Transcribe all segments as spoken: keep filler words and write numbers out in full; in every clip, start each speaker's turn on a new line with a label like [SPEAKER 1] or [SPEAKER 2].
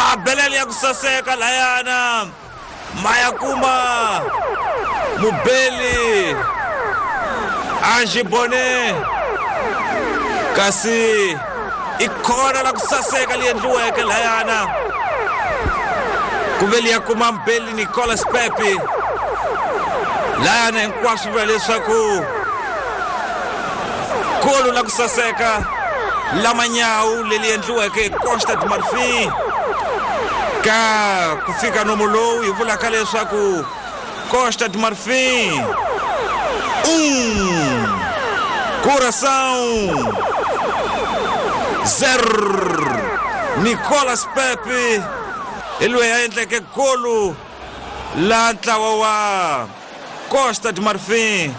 [SPEAKER 1] Mabelele ya ku saseka layana maya kuma mubeli Ange Bonnet kasi ikhona la ku saseka li endliweke layana kuveli ya kuma mbeli Nicolas Pepe layana hinkwaswo vula leswaku golo la ku saseka la manyawu leli endliweke hi Costa de Marfin ka ku fika nomo lowu hi vulaka leswaku Costa de Marfin um Coração zero. Nicolas Pepe hi loyi a endleke golo la ntlawa wa Costa de Marfin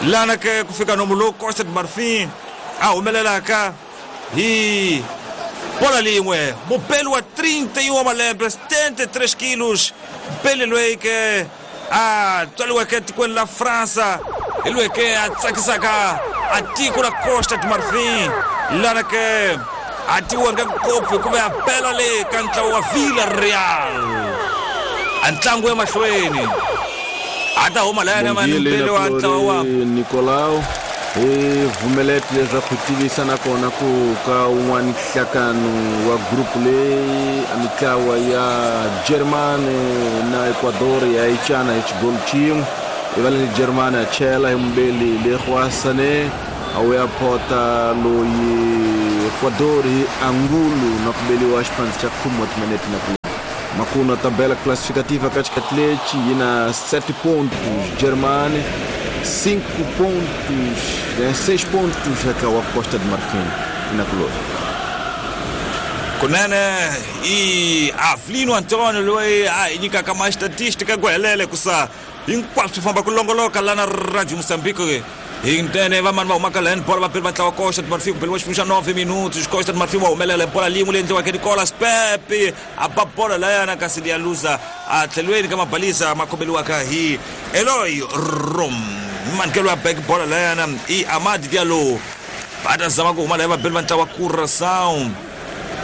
[SPEAKER 1] lana ke ku fika nomo lowu Costa de Marfin a humelelaka hi bola lin'we mubeli wa trinta e um wa malembe setenta e três quilos mbeli loyi ke a tswariweke etikweni la Fransa hi loyi ke a tsakisaka a tiko la Costa de Marfin lana ke a tiwanga ngopfu hikuva ya bela le ka ntlawa wa Villarreal a ntlangu emahlweni a ta huma layana mani mbeli wa ntlawa wa
[SPEAKER 2] Nicolau hi vumelete leswaku tivisa nakona ku ka un'wana nhlakano wa group leyi a mitlawa ya Germany na Ecuador ya icana hi xigolo xin'we ivaleni Germany a chela hi mubeli Leroy Sané a wuya phota loyi Ecuador hi Angulo na ku beliwa xipandzi xa khume wa timinete na ku makuna tabela classificativa ka xikati yi na sete pontos Germany cinco pontos, né, seis pontos eka wa Costa de Marfin na kulor.
[SPEAKER 1] Kunene i Avlino Antonio loyi a hi nyikaka ma statistika ku helele kusa hinkwaswo swi famba ku longoloka lana Radio Moçambique hi ntene vamani va humaka laheni bola vapeli va ntlawa Costa de Marfin kubeliwa xipfuno xa nove minutos Costa de Marfin wa humelela bola lin'we leyi endliwaka Nicolas Pepe a ba bola layana kasi liya luza a tlhelweni ka mabalisa ma khomeliwaka hi Eloy Rom manikelo ya back bola layana i Amad Diallo va ta zama ku huma laya vabeli va ntlawa Curaçao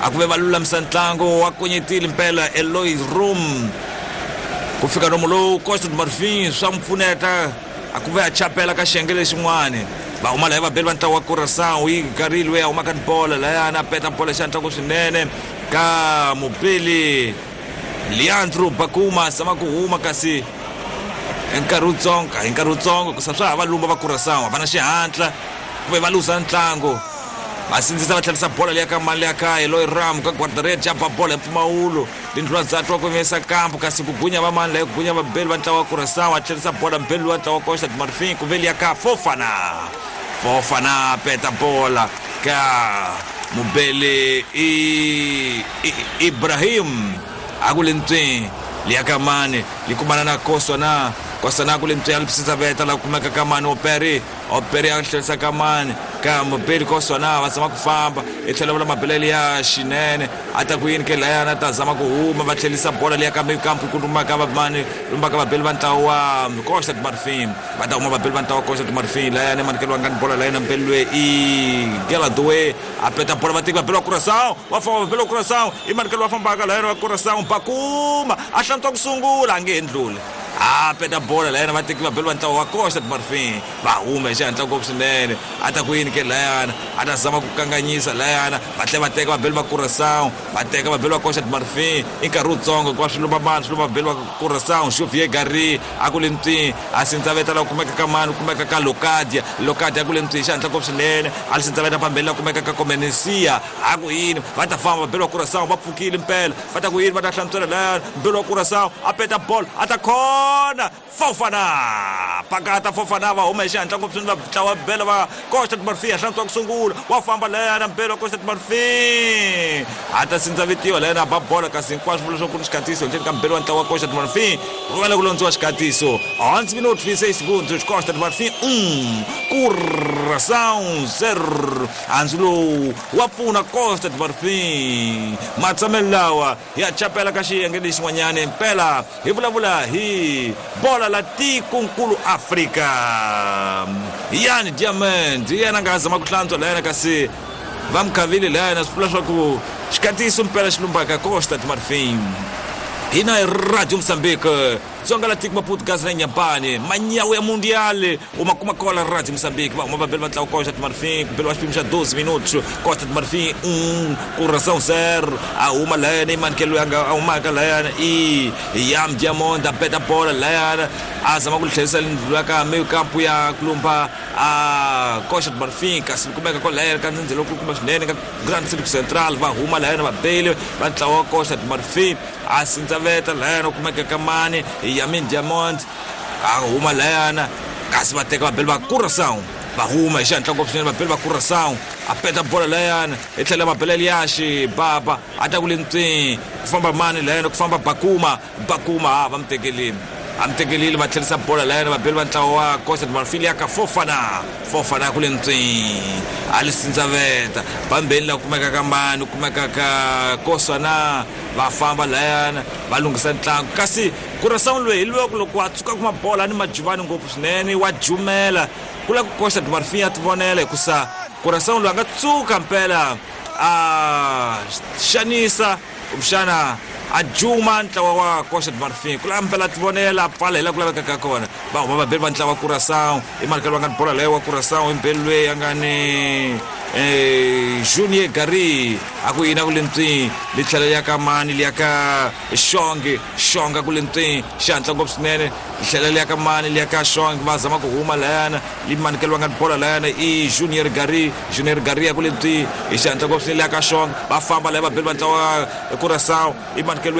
[SPEAKER 1] a ku ve va lulamisa ntlangu wa konyetile mpela Eloy Rom ku fika nomo lowu Costa de Marfin swa n'wi pfuneta a ku ve a chapela ka xiyenge lexin'wani va huma laya vabeli va ntlawa wa Curaçao yi garile loyi a humaka ni bola layana a peta bola xa ntlangu swinene ka mubeli Leandro Bakuma zama ku huma kasi hi nkarhi wutsongo hi nkarhi wutsongo kusa swa ha va lumba va Curaçao va na xihatla ku ve va luza ntlangu va sindzisa va tlherisa bola liya ka mali ya ka Eloy Ram ka guardarete ya ba bola hi mpfumawulo tindlula za twa ku yimisa kampo kasi ku gunya va mani laya ku gunya vabeli va ntlawa wa Curaçao a tlherisa bola mbeli wa ntlawa wa Costa de Marfin ku ve liya ka Fofana Fofana peta bola ka mubeli i, i Ibrahim a ku le ntsweni liya ka mani li kumana na Koswana Koswana ku le ntsweni a li veta la kumeka ka mani Operi Operi a tlherisa ka mani ka mubeli Koswana va zama ku famba i tlhela vula mabelele ya xinene a ta ku yini ke layana a ta zama ku huma va tlherisa bola liya ka mikampu ku lumaka va mani lumbaka vabeli va ntlawa wa Costa de Marfin va ta huma vabeli va ntlawa wa Costa de Marfin layana manikelo nga ni bola layana mbeli loyi i Geladoe a peta bola va teki vabeli wa Curaçao va famba vabeli wa Curaçao i manikelo va fambaka layana wa Curaçao Bakuma a hlantswa ku sungula a nge endluli a peta bola layana va teki vabeli va ntlawa wa Costa de Marfin va huma hi xihatla ngopfu swinene a ta ku yini ke layana a ta zama ku kanganyisa layana va tlhela va teka vabeli va Curaçao va teka vabeli va Costa de Marfin i nkarhi wutsongo hikuva swi lumba mani swi lumba vabeli va Curaçao Xavier Gary a ku le ntswini a sindzaveta la kumeka ka mani ku kumeka ka Locadia Locadia a ku le ntswini xihatla ngopfu swinene a li sindzaveta pambeni la kumeka ka Comenencia a ku yini va ta famba vabeli va Curaçao va pfukile mpela va ta ku yini va ta hlantswela layana mbeli wa Curaçao a peta bolo a ta khona Fofana pakata Fofana va huma hi xihatla ngopfu swinene va ntlawa bela va Costa de Marfin a hlantswa ku sungula wa famba layana mbeli wa Costa de Marfin a ta sindzavetiwa layana a ba bola kasi hinkwaswo vula leswaku ku ni xikatiso ndzeni ka mbeli wa ntlawa wa Costa de Marfin ku vale ku londziwa xikatiso onze minutos e seis segundos Costa de Marfin um Curaçao zero handzu lowu wa pfuna Costa de Marfin matshamelo lawa ya chapela ka xiyenge lexin'wanyana mpela hi vulavula hi bola la tikonkulu Afrika Yani Diamond yena nga zama ku hlantswa layana kasi va mukhavile layana swi vula swa ku Xikatiso mpela xilumbaka Costa do Marfim. Hina hi Radio Moçambique Dzonga la tiko Maputo gazi la Inhambane manyawu ya mundial uma kuma kola Radio Moçambique va huma va beli va ntlawa Costa do Marfim ku beliwa xipimo xa doze minutos Costa do Marfim um Curaçao zero a huma layana i manikelo ya nga a humaka layana i Yam Diamond a beta bola layana a zama ku tlherisa lindlu ka meio campo ya kulumba a Costa do Marfim kasi kumeka ko layana ka ndzhendzelo kulukumba swinene ka Grand Circo Central va huma layana va beli va ntlawa Costa do Marfim a sindzaveta layana kumeka ka mani Yamin Diamond a huma layana kasi va teka va beli va Curaçao va huma hi xihatla ngopfu swinene va beli va Curaçao a peta bola layana i tlhela va bela Eliashi baba a ta ku le ntswini ku famba mani layana ku famba Bakuma Bakuma ha va mi tekelile a mi tekelile va tlherisa bola layana va beli va ntlawa wa Costa do Marfim ya ka Fofana Fofana ku le ntswini a li sindzaveta bambeni la kumeka ka mani kumeka ka Kosana va famba layana va lunghisa ntlangu kasi Curaçao loyi hi loko loko a tsuka kuma bola ni majuvani ngopfu swinene wa jumela ku la ku Costa do Marfim ya tivonela hikusa Curaçao loyi a nga tsuka mpela a xanisa kumbexana a juma ntlawa wa Costa do Marfim ku la mpela tivonela a pfala hi la ku lavekaka kona va huma vabeli va ntlawa wa Curaçao i malikelo va nga ni bola leyo wa Curaçao i mbeli loyi a nga ni eh Junior Gary a ku yina ku le ntswini li tlhela ya ka mani li ya ka Xongi Xonga ku le ntswini xihatla ngopfu swinene li tlhela li ya ka mani li ya ka Xongi va zama ku huma layana li manikelo va nga ni bola layana i Junior Gary Junior Gary ya ku le ntswini hi xihatla ngopfu swinene li ya ka Xongi va famba laya va beli va ntlawa wa Curaçao i manikelo